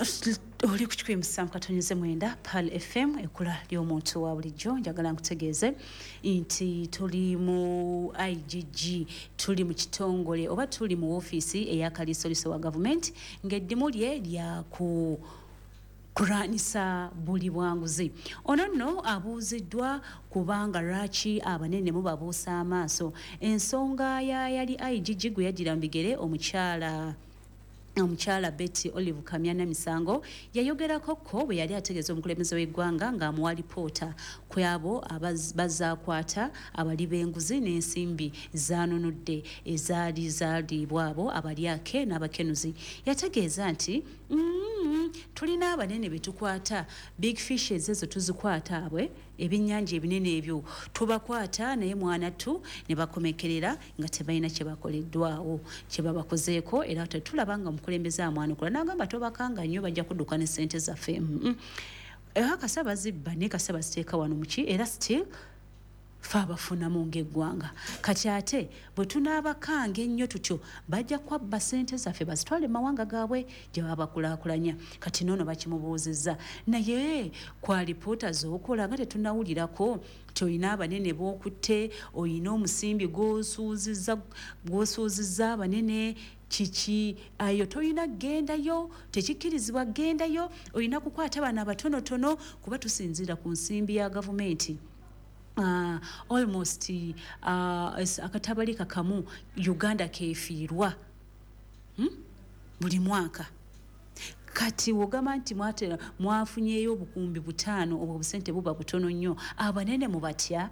Oli ku 107.9 Pearl FM, ekkula ly'omuntu wa bulijjo. Njagala nkutegeeze nti tuli mu IGG, tuli mu kitongole oba tuli mu woofiisi eya kaliisoliiso wa gavumenti, ng'eddimu lye lyaku kulwanyisa buli bwanguzi. Ono nno abuuziddwa kubanga lwaki abanene mubabuusa amaaso. Ensonga ya yali IGG gwe yajjira mu bigere, omukyala Betty Olive Kamya Namisango, yayogerako ko bwe yali ategeeza omukulembeze w'eggwanga ng'amuwa lipoota ku abo bazaakwata abali b'enguzi n'ensimbi zanunudde ezaali zaaliibwa abo abalyake n'abakenuzi. Yategeeza nti, "Tulina abanene be tukwata, big fishes ezo tuzikwata, abwe ebyennyanja ebinene ebyo tubakwata, naye mwanattu ne bakomekerera nga tebalina kye bakoleddwawo, kye babakozeeko, era tetulaba nga omukulembeze amwanukula." N'agamba, "Tobakanga nnyo, bajja kudduka ne ssente zaffe." Era kasa bazibba, naye kasa baziteeka wano muki, era still fe abafunamu ng'eggwanga. Kati ate bwe tunaabakanga ennyo tutyo, bajja kwabba ssente zaffe bazitwale mu mawanga gaabwe gye baba bakulaakulanya. Kati noono bakimubuuzizza, naye kwa lipoota z'okola nga tetunawulirako nti olina abanene b'okutte, olina omusimbi gw'osuuzizza abanene, kiki ayo? Tolina kgendayo, tekikkirizibwa kgendayo, olina kukwata bano abatonotono, kuba tusinziira ku nsimbi ya gavumenti. Almost akatabalika kamu Uganda kefiirwa, Buli mwaka. Kati wogamba nti mwatera mwafunyeyo 5000, obwo obusente buba butono nnyo. Abanene mubatya?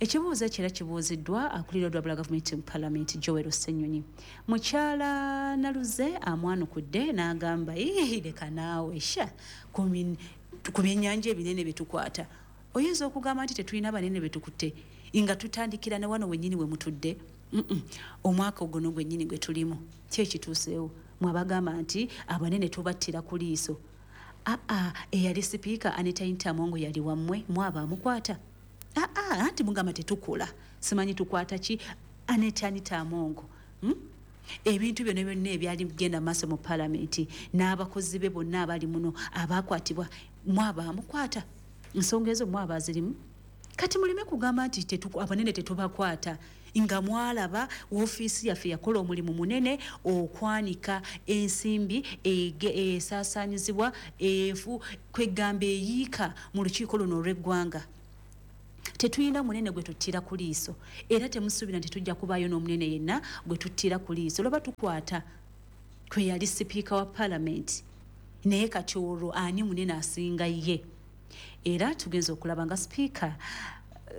Ekibuuzo ekyo era kibuuziddwa akulira olwabula gavumenti mu palamenti, Joel Ssenyonyi. Mukyala Naluze amwanukudde n'agamba, "Ii, leka naawe, sha ku byennyanja ebinene byetukwata, oyinza okugamba nti tetulina banene betukutte nga tutandikira ne wano wennyini we mutudde? Omwaka oguno gwennyini gwe tulimu, ki ekituuseewo? Mwabagamba nti abanene tubattira ku liiso. Aa, eyali sipiika Anita Amongo yali wammwe, mwaba amukwata? Aa, anti mugamba tetukola, simanyi tukwata ki. Anita, Anita Amongo, Ebintu byonna byonna ebyali bigenda maaso mu palamenti n'abakozi be bonna abali muno abakwatibwa, mwaba amukwata? Ensonga ezo mwaba zirimu. Kati muleme kugamba nti abanene tetubakwata, nga mwalaba woofiisi yaffe yakola omulimu munene okwanika ensimbi esaasaanyizibwa enfu kwegamba eyiika mu lukiiko luno olw'eggwanga. Tetulina munene gwe tuttira ku liiso, era temusuubira nti tujja kubaayo n'omunene yenna gwe tuttira ku liiso. Lwaba tukwata kwe yali sipiika wa palamenti, naye kati olwo ani munene asinga ye? Era tugenza okulaba nga sipiika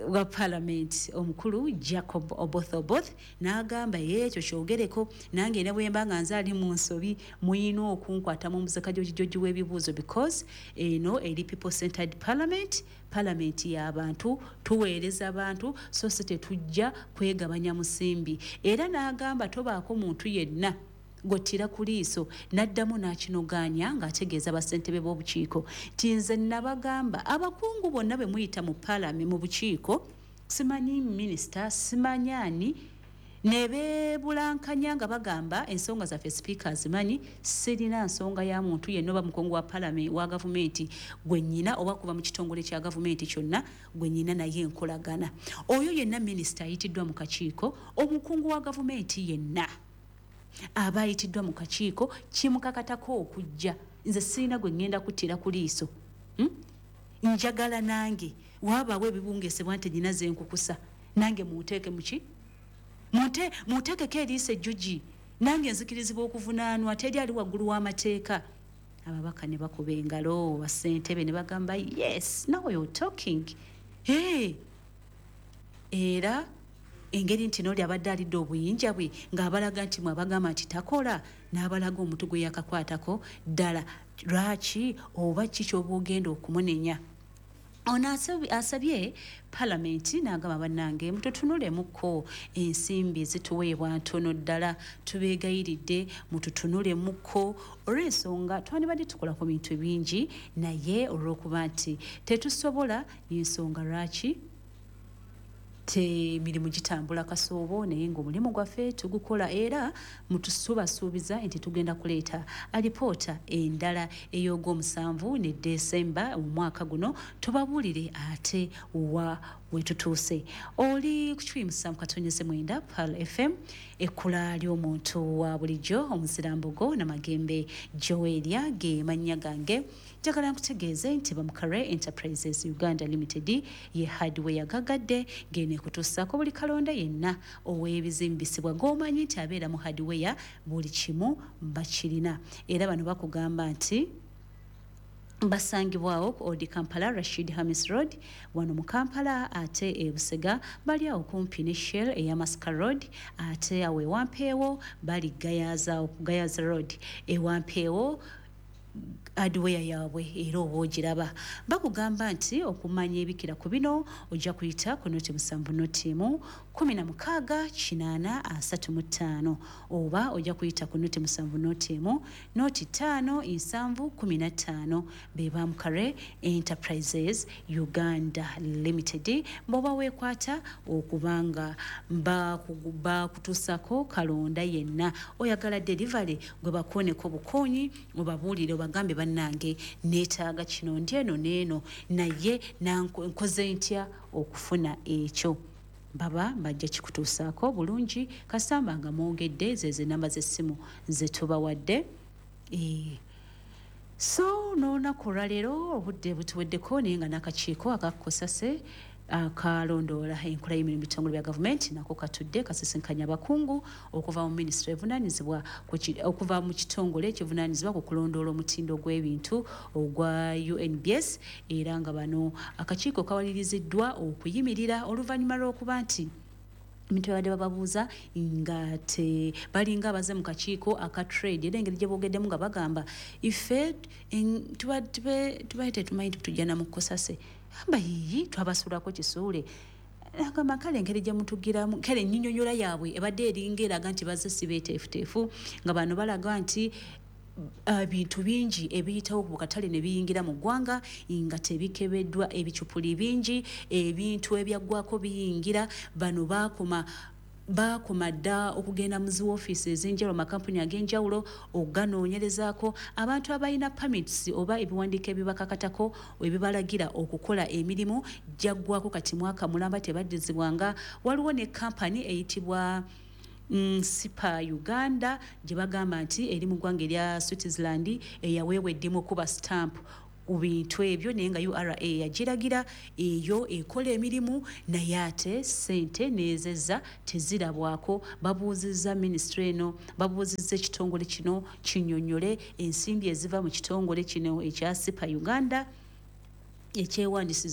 wa palamenti omukulu Jacob Oboth Oboth n'agamba, "Ekyo kyogereko nange, ne bwe mba nga nze ali mu nsobi, muyina okunkwata mu muzakajojijoji w'ebibuuzo, because eno eri people centered parliament, palamenti y'abantu, tuweereza abantu, so si tetujja kwegabanya musimbi." Era n'agamba, "Tobaako muntu yenna gwottira ku liiso." N'addamu n'akinogaanya ng'ategeeza bassentebe b'obukiiko nti, "Nze nabagamba, abakungu bonna bwe muyita mu palame, mu bukiiko, simanyi minisita, simanyi ani, ne beebulankanya nga bagamba ensonga zaffe, sipiika azimanyi. Sirina nsonga ya muntu yenna oba mukungu wa palame wa gavumenti gwe nnyina, oba kuva mu kitongole kya gavumenti kyonna gwe nnyina naye enkolagana. Oyo yenna minisita ayitiddwa mu kakiiko, omukungu wa gavumenti yenna aba ayitiddwa mu kakiiko, kimukakatako okujja. Nze sirina gwe ŋŋenda kuttira ku liiso, Njagala nange waabaawo ebibungesebwa nti nyina zenkukusa, nange munteeke muki, munteekeko eriiso ejjogi, nange nzikirizibwa okuvunaanwa. Teri ali waggulu w'amateeka." Ababaka ne bakuba engalo, bassentebe ne bagamba, "Yes, now you're talking." Hey! Era engeri nti nooli abadde alidde obuyinja bwe ng'abalaga nti mwabagamba nti takola, n'abalaga omutu gwe yakakwatako ddala, lwaki oba ki kyoba ogenda okumunenya? Ono asabye palamenti n'agamba, "Bannange, mututunulemukko, ensimbi zituweebwa ntono ddala, tubeegayiridde mututunulemukko, olw'ensonga twandibadde tukola ku bintu bingi, naye olw'okuba nti tetusobola, y'ensonga lwaki Emirimu gitambula kasoobo, naye ng'omulimu gwaffe tugukola, era tubasuubiza nti tugenda kuleeta alipoota endala ey'ogwomusanvu ne Desemba mu mwaka guno, tubabuulire ate wa wetutuuse. Oli ku 107.9 Pearl FM, ekkula ly'omuntu wa bulijjo. Omuzirambogo Namagembe Joeria ge mannya gange. Njagala nkutegeeze nti Bamukare Enterprises Uganda Limited ye hardware gagadde gene kutuusaako buli kalonda yenna ow'ebizimbisibwa g'omanyi nti abeera mu hardware, buli kimu bakirina. Era bano bakugamba nti basangibwawo ku Old Kampala, Rashid Hamis Road, wano mu Kampala. Ate e Busega bali awo kumpi ne Shell eya Maska Road. Ate awo ewampeewo bali Gayaza, ku Gayaza Road ewampeewo hardware yaabwe era oba ogiraba. Bakugamba nti okumanya ebikira ku bino ojja kuyita ku 070 0 16 80 35, oba ojja kuyita ku 070 1 0 5 7 15. Be Bamukare Enterprises Uganda Limited, bw'oba weekwata okubanga bakutuusako kalonda yenna oyagala delivery, gwe bakooneko bukoonyi, obabuulire, obagambe, "Bannange, neetaaga kino, ndi eno n'eno, naye nkoze ntya okufuna ekyo?" Baba bajja kikutuusaako bulungi kasamba nga mwogedde zezo enamba z'essimu zetubawadde. So n'olunaku olwaleero obudde butuweddeko, naye nga n'akakiiko akakosase akalondoola enkola y'emirimu bitongole bya gavumenti nako katudde kasisinkanya abakungu okuva mu minisitule evunaanyizibwa okuva mu kitongole ekivunaanyizibwa ku kulondoola omutindo gw'ebintu ogwa UNBS. Era nga bano akakiiko kawaliriziddwa okuyimirira oluvannyuma lw'okuba nti ebintu babadde bababuuza nga te balinga abaze mu kakiiko aka trade. Era engeri gye boogeddemu nga bagamba, "Ife tubaye tetumanyi nti tujja na mu kosase." Amba yiyi, twabasulako kisuule. Agamba kale engeri gye mutugiramu, kale ennyinnyonnyola yaabwe ebadde eringa eraga nti bazze si beeteefuteefu, nga bano balaga nti ebintu bingi ebiyitawo ku katale ne biyingira mu ggwanga nga tebikebeddwa, ebicupuli bingi, ebintu ebyaggwako biyingira. Bano baakoma dda okugenda mu zi woofiisi ez'enjawulo, makampuni ag'enjawulo, okuganoonyerezaako. Abantu abalina permits oba ebiwandiiko ebibakakatako ebibalagira okukola emirimu gyaggwako kati mwaka mulamba tebaddizibwanga. Waliwo ne kampani eyitibwa Sipa Uganda gye bagamba nti eri mu ggwanga erya Switzerland, eyaweebwa eddimu okuba stamp ku bintu ebyo, naye nga URA yagiragira eyo ekola emirimu, naye ate ssente neezezza tezirabwako. Babuuzizza minisitule eno, babuuzizza ekitongole kino kinnyonnyole ensimbi eziva mu kitongole kino ekya Sipa Uganda ekyewandiisiza.